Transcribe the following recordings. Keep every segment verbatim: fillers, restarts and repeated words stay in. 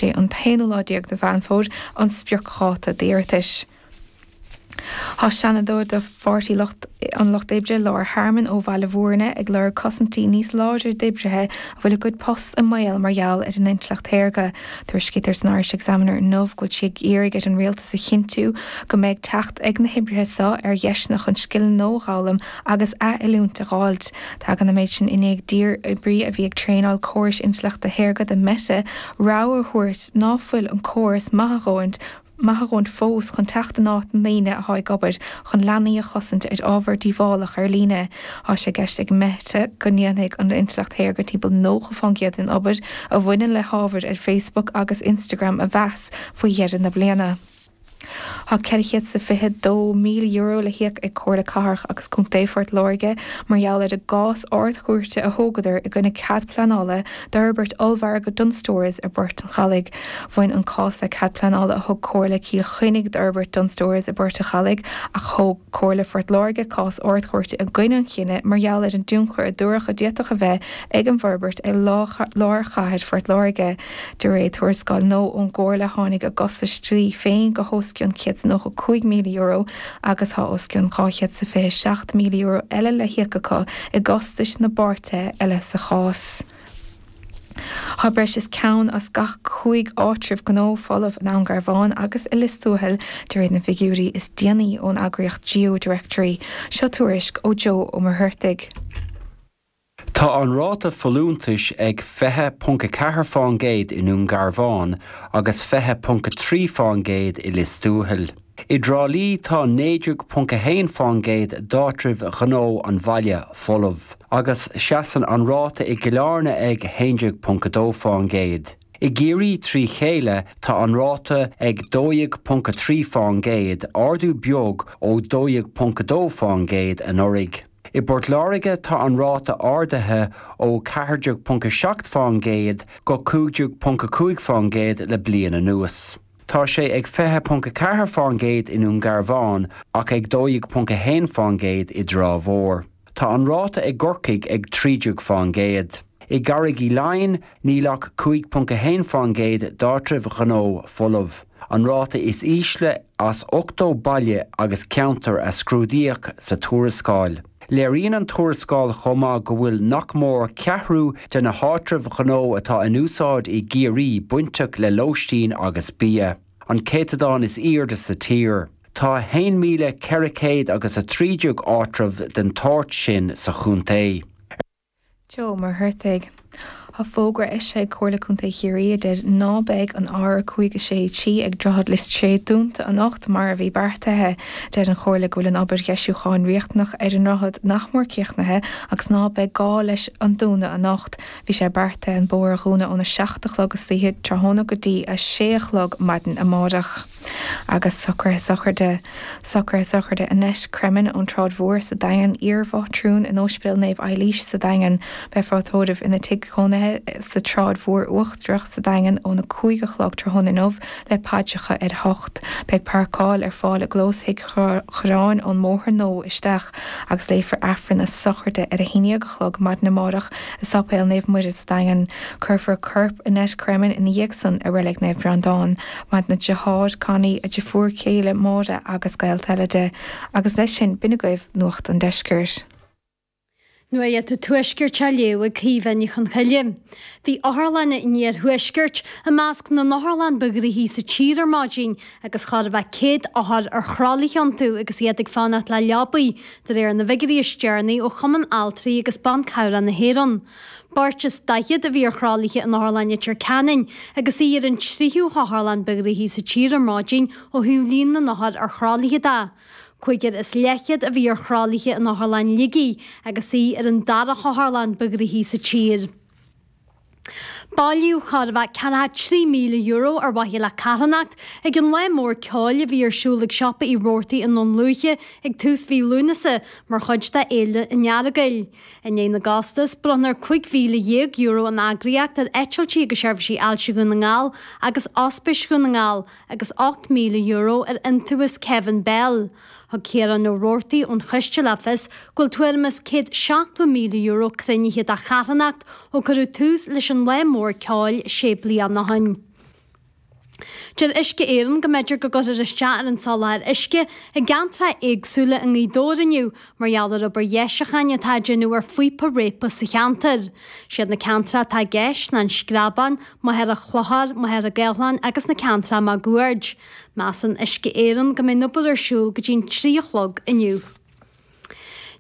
sé an t-aonú lá déag de Mheán Fómhair an spriocdháta d'iarratais. Tá Seanadóir de Pháirtí an Lucht Oibre Laura Harmon ó Bhaile Bhúirne ag lorg cosaintí níos láidre d'oibrithe a bhfuil a gcuid post i mbaol mar gheall ar an intleacht shaorga. Tuairiscítear san Irish Examiner inniu go bhfuil sí ag iarraidh ar an rialtas a chinntiú go mbeidh teacht ag na hoibrithe seo ar dheiseanna chun scileanna nua a fhoghlaim agus athoiliúint a fháilt. Tagann an méid sin i ndiaidh d'iar-oibrí a bhí ag traenáil córais intleachta shaorga do Meta rabhadh a thabhairt ná fuil an córas maith a dhóthain maith a dhóthain fós chun teacht in áit na ndaoine atá ag obair chun leanaí a chosaint ar ábhar díobhálach ar líne. Tá sé i gceist ag Meta go ndéanfaidh an intleacht shaorga timpeall nócha faoin gcéad den obair a bhaineann le hábhar ar Facebook agus Instagram a mheas faoi dheireadh na bliana. Tá ceithre chéad is fiche dó míle euro le híoc ag Comhairle Cathrach agus Contae Phort Láirge mar gheall ar an gcás Ard-Chúirte a thógadar i gcoinne cead pleanála d'fhorbairt ollmhargadh Dunnes Stores i bPort an Chalaigh. Bhain an cás le cead pleanála a thug Comhairle Chill Chainnigh d'fhorbairt Dunnes Stores i bPort an Chalaigh ach thóg Comhairle Phort Láirge cás Ard-Chúirte i gcoinne an chinnidh mar gheall ar an dtionchar a dúradh a d'fhéadfadh a bheith ag an bhforbairt ar lár chathair Phort Láirge. De réir tuarascáil nua ón gComhairle tháinig a gcostais dlí féin go hos cionn céad is nócha cúig míle euro agus tá os cionn dhá chéad is fiche seacht míle euro eile le híoc acu i gcostais na bpáirtithe eile sa chás. Tá breis is ceann as gach cúig áitreabh gnó folamh i nDún Garbhán agus i Lios Tuathail de réir na bhfigiúirí is déanaí ón eagraíocht GeoDirectory. Seo tuairisc ó Joe Ó Muircheartaigh. Tá an ráta folúntais ag fiche ponc a ceathair faoin gcéad i nDún Garbhán agus fiche ponc a trí faoin gcéad i Lios Tuathail. I dTrá Lí tá naoi déag ponc a haon faoin gcéad d'áitribh ghnó an bhaile folamh, agus seasann an ráta i gCill Airne ag haon déag ponc a dó faoin gcéad. I gCiarraí trí chéile tá an ráta ag dó dhéag ponc a trí faoin gcéad, ardú beag ó dó dhéag ponc a dó faoin gcéad anuraidh. I bPort Láirge tá an ráta ardaithe ó ceathair déag ponc a seacht faoin gcéad go cúig déag ponc a cúig faoin gcéad le bliain anuas. Tá sé ag fiche ponc a ceathair faoin gcéad i nDún Garbhán ach ag dó dhéag ponc a haon faoin gcéad i dTrá Mhór. Tá an ráta i gCorcaigh ag trí déag faoin gcéad. I gCarraig Uí Leighin níl ach cúig ponc a haon faoin gcéad d'áitribh ghnó folamh, an ráta is ísle as ochtó baile agus ceantar a scrúdaíodh sa tuarascáil. Léiríonn an tuarascáil chomh maith go bhfuil nach mór ceathrú de na háitribh ghnó atá in úsáid i gCiarraí bainteach le lóistín agus bia, an céatadán is airde sa tír. Tá haon míle ceithre chéad agus a trí déag áitreabh den tsórt sin sa chontae. Joe Ó Muircheartaigh. Tá fógra eisithe ag Comhairle Contae Chiarraí a deir ná beidh an R cúig a sé trí ag Droichead Lios Tuathail dúnta anocht mar a bhí beartaithe. Deir an Chomhairle go bhfuil an obair dheisiúcháin riachtanach ar an ndroichead nach mór críochnaithe agus ná beidh gá leis an dúnadh anocht. Bhí sé beartaithe an bóthar a dhúnadh óna seacht a chlog istoíche tráthnóna go dtí a sé a chlog maidin amárach. Agus socruithe sochraide. Socruithe sochraide Annette Cremin ón tSráid Mhór sa Daingean, iar-mhátrún in Ospidéal Naomh Eilís sa Daingean. Beifear á tórramh ina tigh cónaithe sa tSráid Mhór Uachtarach sa Daingean óna cúig a chlog tráthnóna inniu le paidreacha ar a hocht. Beidh páirceáil ar fáil i gclós Thigh Chorráin ón mBóthar Nua isteach agus léifear Aifreann na sochraide ar a haon déag a chlog maidin amárach i Sáipéal Naomh Muire sa Daingean. Cuirfear corp Annette Cremin ina dhiaidh san i Reilig Naomh Breandán. Maireann a deartháir, Connie, a deirfiúr céile, Máire agus gaolta eile di. Agus leis sin, b'in agaibh Nuacht an Deiscirt. Nuacht an Tuaiscirt á léamh ag Caoimhe Ní Chonchoille. Bhí Otharlann an Iarthuaiscirt i measc na n-otharlann ba ghnoithí sa tír ar maidin agus chóir a bheith céad othar ar thralaithe iontu agus iad ag fanacht le leabaí, de réir na bhfigiúirí is deireanaí ó Chumann Altraí agus Ban Cabhrach na hÉireann. Beirt is daichead a bhí ar thralaithe in Otharlann Leitir Ceanainn agus í ar an tríú hotharlann ba ghnoithí sa tír ar maidin ó thaobh líon na n-othar ar thralaithe de. Cúigear is leathchéad a bhí ar thralaithe in Otharlann Shligigh agus í ar an dara hotharlann ba ghnoithí sa tír. Bailíodh chóir a bheith ceathracha trí míle euro ar mhaithe le carthanacht ag an lá mór ceoil a bhí ar siúl ag Siopa Uí Robhartaigh i nDún Lúiche ag tús mhí Lúnasa mar chuid de Fhéile an Earagail. I ndiaidh na gcostas, bronnadh cúig mhíle dhéag euro ón eagraíocht ar Eitiltí agus Seirbhísí Ailse Dhún na nGall agus Ospís Dhún na nGall agus ocht míle euro ar Iontaobhas Kevin Bell. Thug Ciarán Ó Robhartaigh ón choiste le fios go bhfuil tuairim is céad seachtó míle euro cruinnithe do charthanacht ó cuireadh tús leis an lá mór ceoil sé bliana ó shin. Deir Uisce Éireann go mb'fhéidir go gcuirfear isteach ar an soláthar uisce i gceantracha éagsúla i nGaoth Dobhair inniu mar gheall ar obair dheisiúcháin atá á déanamh ar phíopa réabtha sa cheantar. Siad na ceantracha atá i gceist ná an Screabán, Machaire Chlochair, Machaire Gathlán agus na ceantracha máguaird. Measann Uisce Éireann go mbeidh an obair ar siúl go dtí an trí a chlog inniu.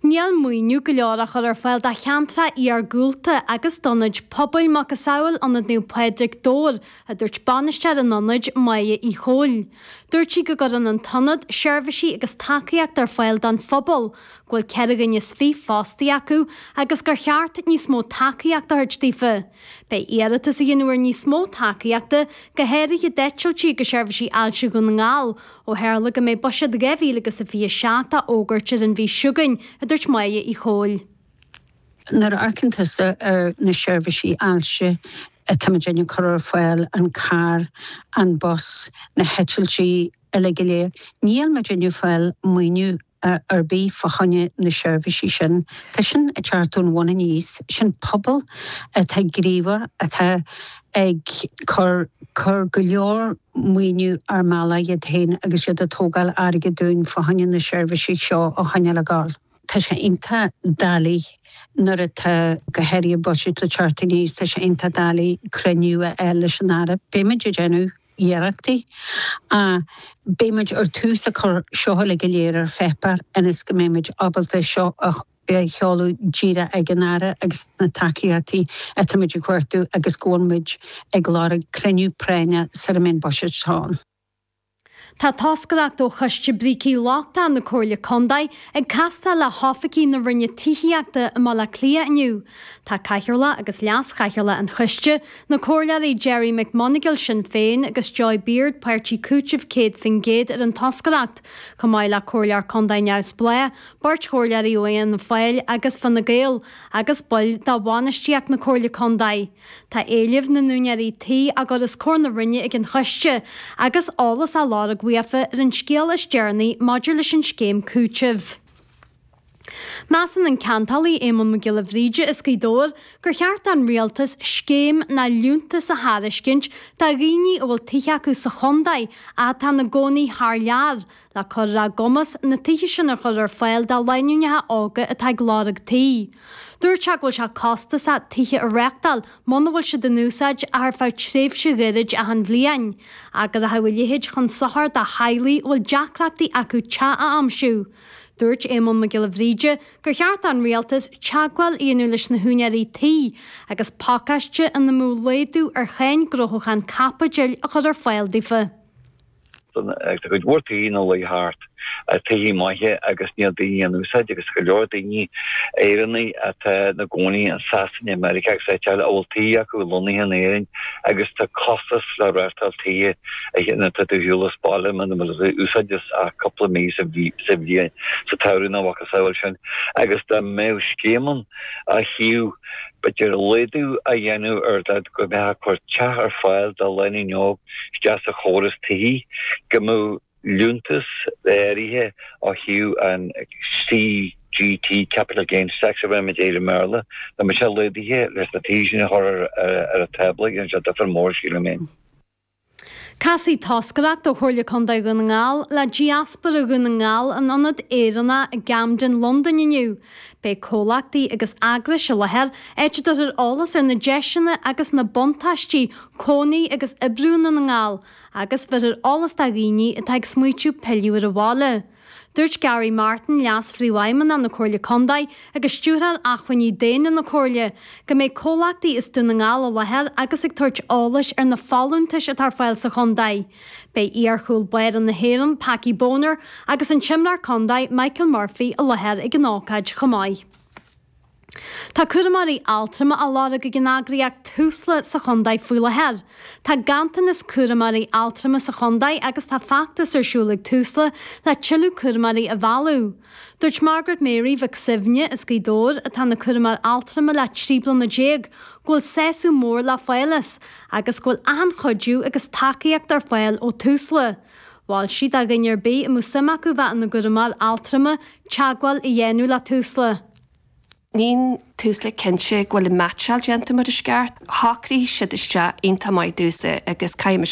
Níl maoiniú go leor á chur ar fáil do cheantracha iargúlta agus d'ionaid pobail macasamhail Ionad Naomh Pádraig Dobhair, a dúirt bainisteoir an ionaid, Máire Uí Chomhaill. Dúirt sí go gcuireann an t-ionad seirbhísí agus tacaíocht ar fáil don phobal, go bhfuil ceithre dhuine is fiche fostaí acu agus gur cheart níos mó tacaíocht a thabhairt daofa. Beidh iarratas á dhéanamh ar níos mó tacaíochta, go háirithe d'eitiltí go seirbhísí ailse Dhún na nGall, ó tharla go mbeidh buiséad dhá mhíle agus a fiche seacht á fhógairt ar an mhí seo chugainn, a dúirt Máire Uí Chomhaill. Nuair a amharcann tusa ar na seirbhísí ailse atáimid ag cur ar fáil, an carr, an bus, na heitiltí uilig go léir, níl muid ag fáil maoiniú ar bith fá choinne na seirbhísí sin. Tá sin ag teacht ón bhun aníos, sin pobal atá gníomhach, atá ag cur cur go leor maoiniú ar mbealach iad féin agus iad ag tógáil airgead dúinn fá choinne na seirbhísí seo a choinneáil ag gabháil. Tá sé iontach doiligh nuair atá go háirithe buiséad le teacht aníos, tá sé iontach doiligh cruinniú a fháil leis an Aire. Beimid ag déanamh iarrachtaí. Beimid ar tús ag cur seo uilig go léir ar pháipéar ionas go mbeimid ábalta seo a sheoladh díreach ag an Aire agus na tacaíochtaí atáimid ag cuartú agus go bhfuil muid ag lorg cruinniú práinne sara mbeidh an buiséad seo ann. Tá toscaireacht ó Choiste Brící Lochtacha na Comhairle Contae ag castáil le hoifigigh na Roinne Tithíochta i mBaile Átha Cliath inniu. Tá Cathaoirleach agus Leas-Chathaoirleach an Choiste, na Comhairleoirí Gerry McMonagle, Sinn Féin, agus Joy Beard, Páirtí Cúitimh céad faoin gcéad ar an toscaireacht, chomh maith le Comhairleoir Contae neamhspleách, beirt chomhairleoirí ó Fhianna Fáil agus Fine Gael, agus baill de bhainistíocht na Comhairle Contae. Tá éilimh na n-úinéirí tí á gcur os comhair na Roinne ag an Choiste agus eolas á lorg uafa ar an scéal is deireanaí maidir leis an scéim cúitimh. Measann an ceantálaí Éamonn Mac Giolla Bhríde as Gaoth Dobhair gur cheart don rialtas scéim ná liúntas a thairiscint do dhaoine a bhfuil tithe acu sa chontae ach atá ina gcónaí thar lear le cur ar a gcumas na tithe sin a chur ar fáil do lánúineacha óga atá ag lorg tí. Dúirt sé go bhfuil sé costasach tithe a reáchtáil muna bhfuil siad in úsáid ach ar feadh tréimhse ghairid achan bhliain, ach go rachadh a leithéid chun sochair do theaghlaigh a bhfuil deacrachtaí acu teach a aimsiú. Dúirt Éamonn Mac Giolla Bhríde gur cheart don rialtas teagmháil a dhéanamh leis na húinéirí tí agus pacáiste ina mbeadh laghdú ar cháin gnóthachan caipitil a chur ar fáil daofa. Tá cuid mhór tithe ina luí thart, tithe maithe agus níl daoine á n-úsáid agus go leor daoine Éireannaigh atá ina gcónaí i Sasana, Meiriceá agus áit eile a bhfuil tithe acu lonnaithe in Éirinn agus tá costas le reáchtáil tithe nuair atá tú ar shiúl as baile muna bhfuil tú á úsáid ach cúpla mí sa bhliain, sa tsamhradh nó a mhacasamhail sin agus dá mbeadh scéim ann ó thaobh b'fhéidir laghdú a dhéanamh ar dá go mbeifeá ag cur teach ar fáil do lánúin óg isteach sa chóras tithí, go mbeadh liúntas áirithe ó thaobh an CGT, Capital Gains Tax a bheirimid air i mBéarla, dá mbeadh sé laghdaithe leis na tithe sin a chur ar an tábla, dhéanfadh sé difear mór, sílim féin. Casfaidh toscaireacht ó Chomhairle Contae Dhún na nGall le Diaspóra Dhún na nGall in Ionad Éireannach i gCamden, Londain inniu. Beidh comhlachtaí agus eagrais i láthair, áit a dtabharfar eolas ar na deiseanna agus na buntáistí cónaí agus oibriú i nDún na nGall agus bheirfear eolas do dhaoine atá ag smaoitiú pilleadh ar an bhaile. Dúirt Gary Martin, Leas-Phríomhfheidhmeannach na Comhairle Contae agus Stiúrthóir Acmhainní Daonna na Comhairle, go mbeidh comhlachtaí as Dún na nGall i láthair agus ag tabhairt eolais ar na folúntais atá ar fáil sa chontae. Beidh iar-chúl báire na hÉireann, Packie Bonner, agus an t-imreoir contae, Michael Murphy, i láthair ag an ócáid chomh maith. Tá cúramóirí altrama á lorg ag an eagraíocht Tusla sa chontae faoi láthair. Tá ganntanas cúramóirí altrama sa chontae agus tá feachtas ar siúl ag Tusla le tuilleadh cúramóirí a mhealladh. Dúirt Margaret Mary Mhic Suibhne as Gaoth Dobhair, atá ina cúramóir altrama le trí bliana déag, go bhfuil sásamh mór le fáil as agus go bhfuil achan chuidiú agus tacaíocht ar fáil ó Tusla. Mhol sí do dhuine ar bith a mbeadh suim acu bheith ina gcúramóir altrama teagmháil a dhéanamh le Tusla. Níl Tusla cinnte go bhfuil an meaitseáil déanta mar is ceart. Shocraigh siad isteach iontach maith domhsa agus caithfidh mise